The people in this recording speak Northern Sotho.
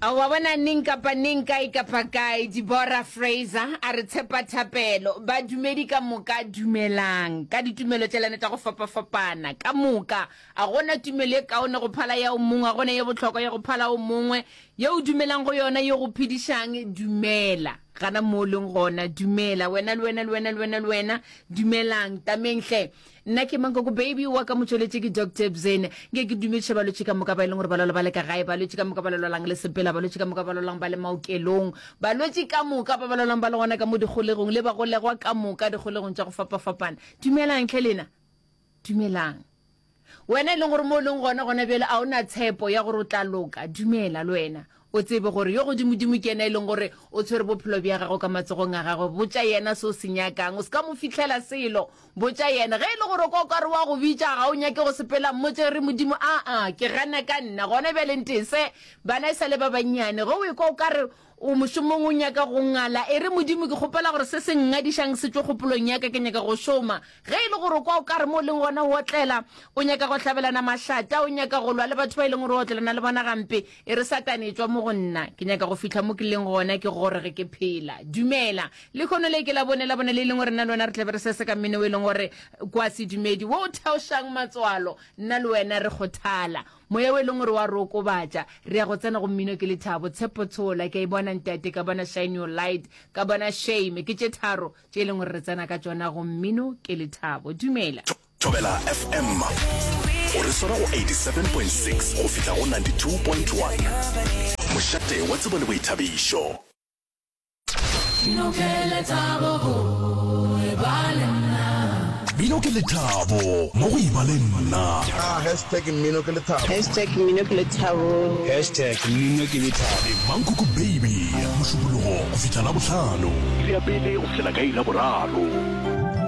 A wa bona neng kapa neng kae kapa kae Deborah Fraser a re tshepa thapelo badumedi ka moka dumelang ka ditumelo tša lena tša go fapafapana ka moka a gona tumelo e kaone go phala ya o mongwe a gona ye bohlokwa ya go phala o mongwe ye o dumelang go yona ye go phedišang dumela gana mo o leng gona dumela wena le wena le wena le wena le wena dumelang tameng hle Nna ke Mankoko Baby wa ka motšweletši ke Doctor Bzene. Nke ke dumediše balwetši ka moka ba e leng gore ba lwala ba le ka gae, balwetši ka moka ba lwalang le sepela, balwetši ka moka ba lwalang ba le maokelong, balwetši ka moka ba ba lwalang ba le gona ka mo dikgolegong le bagolegwa ka moka dikgolegong tša go fapafapana. Dumelang hle lena. Dumelang. Wena e leng gore mo o leng gona gona bjale a o na tshepo ya gore o tla loka, dumela le wena. O tsebe gore yo Godimodimo ke yena e leng gore o tshwere bophelo bja gago ka matsogong a gagwe. Botša yena se o se nyakang. O se ka mo fihlela selo. Botša yena. Ge e le gore o kwa o ka re wa go bitša, ga o nyake go sepela, mmotše re, Modimo, aa, ke gana ka nna. Gona bjale ntese. Bana e sa le ba bannyane. Ge o ekwa o ka re o mošomong o nyaka go ngala, e re, Modimo, ke kgopela gore se se nngadišang se tšwe kgopolong ya ka. Ke nyaka go šoma. Ge e le gore o kwa o ka re mo o leng gona o otlela, o nyaka go hlabelana mašata, o nyaka go lwa le batho ba e leng gore o otlelana le bona gampe, e re, Satane, etšwa mo go nna. Ke nyaka go fihla mo ke leng gona, ke gore ge ke phela. Dumela. Lehono le ke Labone, Labone le e leng gore nna le wena re tla be re sese ka mmino o e leng gore ke wa sedumedi, wo o theošang matswalo. Nna le wena re kgothala. Moya o e leng gore wa re okobatša. Re ya go tsena go mmino ke lethabo. Tshepo Tshola, ke a e bona ntate, ka bona Shine Your Light, ka bona Shame. Ke tše tharo tše e leng gore re tsena ka tšona go mmino ke lethabo. Dumela. Thobela FM o re swara go 87.6 go fihla go 92.1. Mošate wa tsebo le boithabišo. Mmino ke lethabo go eba le nna. Mmino ke lethabo mo go eba le nna. Ah, hashtag mmino ke lethabo. Hashtag mmino ke lethabo. Hashtag mmino ke lethabo. Le Mankoko Baby, Mošupologo go fihla Labohlano. Iri ya pele go fihlela ka iri ya boraro.